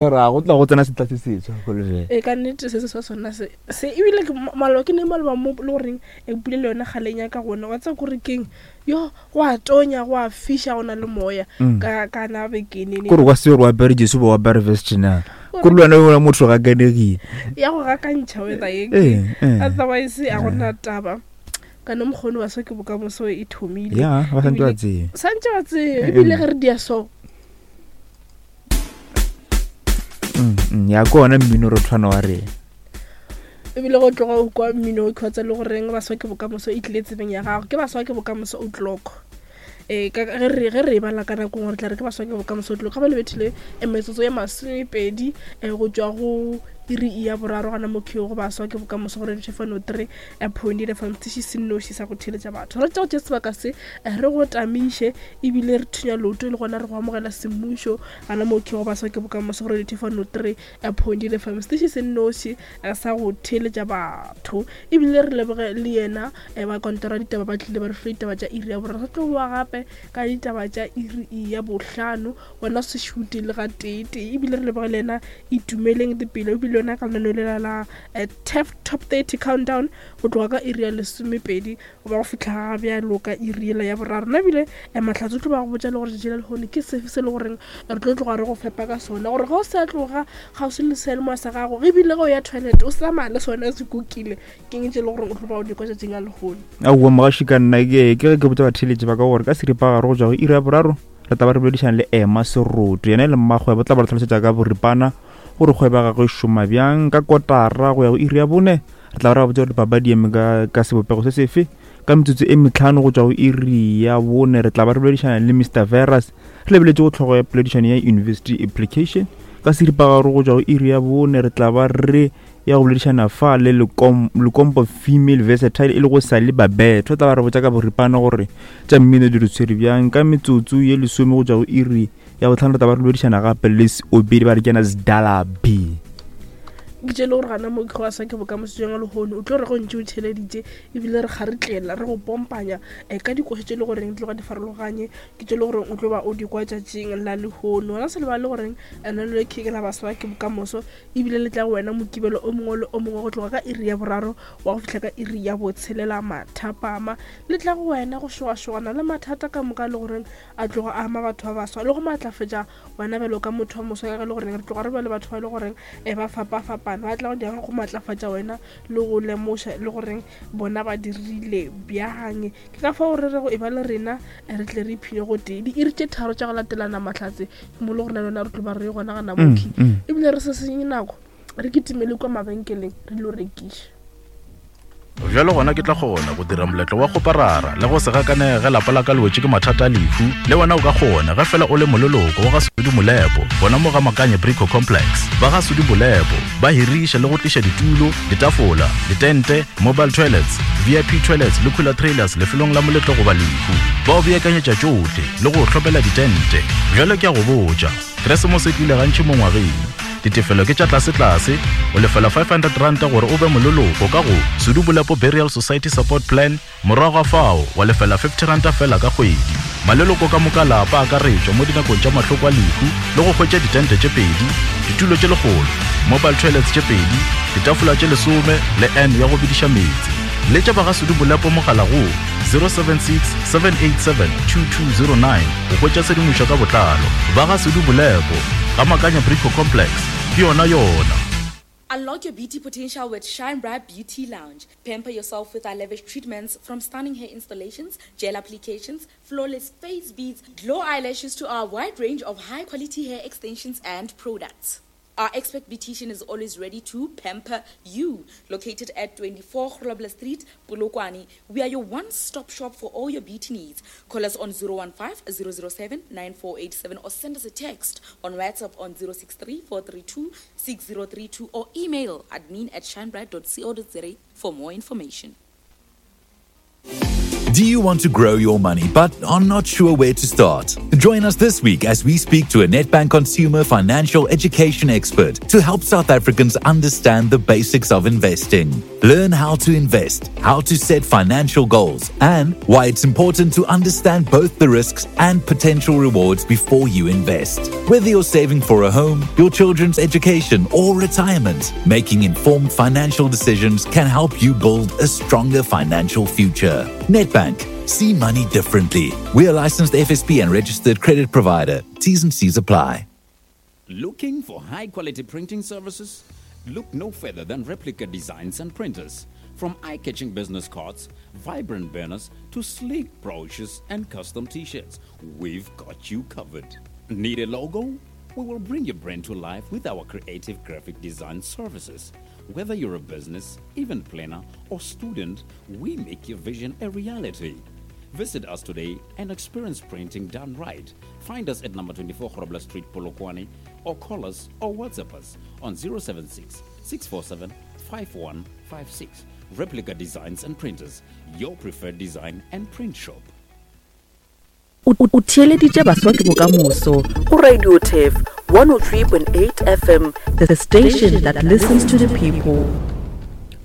Ra go tla go tsena setla se seswa Kolobela. E ka nnete se seswa sona se se ebile ke maloba ke ne maloba mo le goreng e pula le yone gale e nyaka gona wa tseba kore keng yo go a tonya go a fiša go na le moya mm. ka ka na bekene kore wa se gore wa apere jesu ba wa apere vest na kore le wena o motho ga kanegile ya go gakantšha weather ye eh, eh. otherwise a gona taba kana mokgone wa so ke bokamoso e thomile ya ba santse ba tsebe santse ba tsebe ebile ge re dia so Mm, mm, ya ke ona mmino re tshwana wa rena ebile go tloga o kwa mmino o kgotsa le goreng baswa ke bokamoso e tlile tsebeng ya gago ke baswa ke bokamoso o tloko um ge re e bala ka nako ngwe re tla re ke baswa ke bokamoso o tloko ga ba lebethile eh, metsotso ya masomepedi um go tswa go iri ya boraro gana mokheo go baswa ke bokamoso gore fano 3 point eight fm setiši se nnoši sa go theeletša batho re tšeo tše sebaka se eh, re go tamiše ebile re thunya loto e le gona re go amogela semmušo gana moo ke go baswa ke bokamoso gore dithefano 3 point eight fm setiši se nnoši eh, sa go theeletša batho ebile re leboge le yena eh, ba kontora ditaba ba tlile ba re file ditaba tša iri ya boraro re tlo boa gape ka ditaba tša iri ya bohlano gona se šute le ga tee-tee ebile re leboge le yena itumeleng dipelo ebile yona ka lenaneo lela la eh, tef top 30 countdown go tloga ka iri ya lesomepedi go ba go fitlha ga bjalo ka iri yela ya boraro nna ebile eh, mahlatse o tlo ba go botša le gore tšatši la lehono ke sefe se le goreng re tlo tloga re go fepa ka sona gore ga o se a tloga kgauswi le sealemoya sa gago ge ebile ge o ya toilet o tsamaya le sone se kukile ke eng tše le goreng o tlo ba o di kwa tšatšing la lehono aowa mogaši ka nna ke ke ge ke botša batheeletši ba ka gore ka seripagare go tšwa go iri ya boraro re tla ba re boledišana le ema seroto yena e le mmakgwebo o tla ba re tlhalosetša ka boripana gore kgwebo ya gagwe e šoma bjang ka kotara go ya go iri ya bone re tla ba re ba botša gore dipapadi eme ka, ka sebopego se sefe ka metsotso e metlhano go tšwa go iri ya bone re tla ba re boledišana le mr veras re lebeletše go tlhogo ya poledišano ya university application ka seripagaro go tšwa go iri ya bone re tla ba re ya go boledišana fa le lekompo female versatile e le go sa le babetho tla ba re botša ka boripana gore tša mmino di re tshwere bjang ka metsotso ye lesome go tšwa go iri ya botlhano re tla ba re boledišana gape le obedi ba re kena sdala b ke tše le gore gana mo ke go sa ke bokamoso jang lehono o tlo re go ntše o theleditše ebile re ga re tlela re go pompanya um ka dikoša tše le goreng di tloga di farologanye ke tše le goreng o tlo ba o di kwa tšatšing la lehono gona se lebale goreng ena le ke la baswa ke bokamoso Ebile le tla go wena Mokibelo o mongwe le o mongwe go tloga ka iri ya boraro wa go fihla ka iri ya botshelela mathapama. Le tla go wena go šogašogana le mathata ka moka le goreng a tloga a ama batho ba baswa le go matlafetša wena bjalo ka motho wa moswa ka ge le goreng re tloga re ba le batho ba e le goreng e ba fapafapana ba tla go diang go matlafatša wena le go lemoša le goreng bona ba dirile bjang. Ke ka fao re rego e ba le rena re tle re iphine gotee diiri tše tharo tša go latelana mahlatse ke mo le gore na lona re tlo ba re gona gana mokhi mm, mm. ebile re se senye nako re kitimele kwa mabenkeleng re lo rekiša bjalo gona ke tla kgona go dira moletlo wa kgoparara le go se gakanege lapa la ka le wetše ke mathata a lehu le wena o ka kgona ge fela o le moleloko wa ga sodi molepo gona mo ga makanye brico complex ba ga sodi molepo ba hiriša le go tliša ditulo ditafola ditente mobile toilets vip toilets le cooler trailers lefelong la moletlo goba lehu ba o beakanyetša tšohle le go hlopela ditente bjalo ke a go botša keresemose e tlile gantši mo ngwageng ditefelo ke tša tlasetlase o lefela 500 ranta gore o be mololoko ka go sudubolepo burial society support plan Morago ga fao wa lefela 50 ranta fela ka kgwedi. Maleloko ka moka lapa a akaretšwa mo dinakong tša mahloko a lehu le go hwetša ditente tše pedi, ditulo tše lekgolo, mobile toilets tše pedi, ditafola tše lesome le urn ya go bediša meetse. Letša ba ga Sudu Bolepo mogala go 076 787 2209 go hwetša tshedimošo ka botlalo. Ba ga Sudu Bolepo, ga Makanya Brico Complex, ke yona yona. Unlock your beauty potential with Shine Bright Beauty Lounge. Pamper yourself with our lavish treatments from stunning hair installations, gel applications, flawless face beads, glow eyelashes to our wide range of high quality hair extensions and products. Our expert beautician is always ready to pamper you. Located at 24 Grobler Street, Polokwane, we are your one-stop shop for all your beauty needs. Call us on 015 007 9487 or send us a text on WhatsApp on 063 432 6032 or email admin at shinebright.co.za for more information. Do you want to grow your money but are not sure where to start? Join us this week as we speak to a Nedbank consumer financial education expert to help South Africans understand the basics of investing. Learn how to invest, how to set financial goals, and why it's important to understand both the risks and potential rewards before you invest. Whether you're saving for a home, your children's education, or retirement, making informed financial decisions can help you build a stronger financial future. Nedbank, see money differently. We are licensed FSP and registered credit provider. T's and C's apply. Looking for high quality printing services? Look no further than Replica Designs and Printers. From eye catching business cards, vibrant banners, to sleek brochures and custom t shirts, we've got you covered. Need a logo? We will bring your brand to life with our creative graphic design services. Whether you're a business, event planner, or student, we make your vision a reality. Visit us today and experience printing done right. Find us at number 24 Grobler Street, Polokwane, or call us or WhatsApp us on 076 647 5156. Replica Designs and Printers, your preferred design and print shop. O theeleditše Baswa ke Bokamoso go Radio Turf 103.8 FM, the station that listens to the people.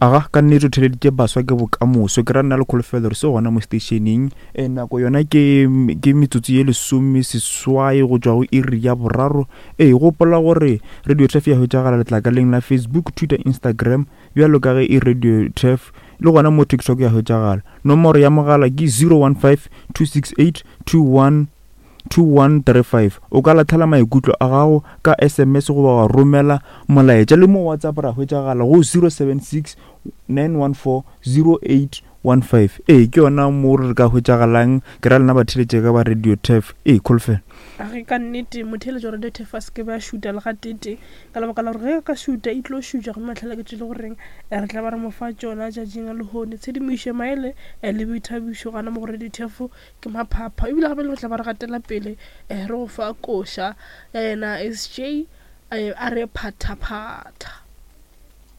Aga, ka nnete o theeleditše Baswa ke Bokamoso. Ke ra nna le kholofelo gore se gona mo stationeng. E, nako yona ke, ke metsotso ye lesome seswai go tšwa go iri ya boraro. Ee, gopola gore Radio Turf ya hwetšagala letlakaleng la Facebook, Twitter, Instagram, bjalo ka ge e Radio Turf le gona mo TikTok ya hwetšagala. Nomoro ya mogala ke 015 268 21 2135. O ka latlhela maikutlo a gago ka SMS goba wa romela molaetša le mo WhatsApp ra hwetšagala go 076 914 0815. Ee, ke yona mo re ka hwetšagalang ke ra lena batheeletše ka ba Radio Turf. Ee, kholofelo. A ge ka nnete motheeletši wa Radio Turf a se ke be a šuta le gatete ka lebaka la gore ge a ka šuta e tlo šutša gomme mahlale ke tšwele goreng eh, re tla ba re mo fa tšona tšatšing a lehone tshedimošo maele eh, le boithabišo gana mo go Radio Turf ke maphapha ebile gape le go tla ba re gatela pele eh, re go fa koša ya yena SJ eh, a re phathaphatha.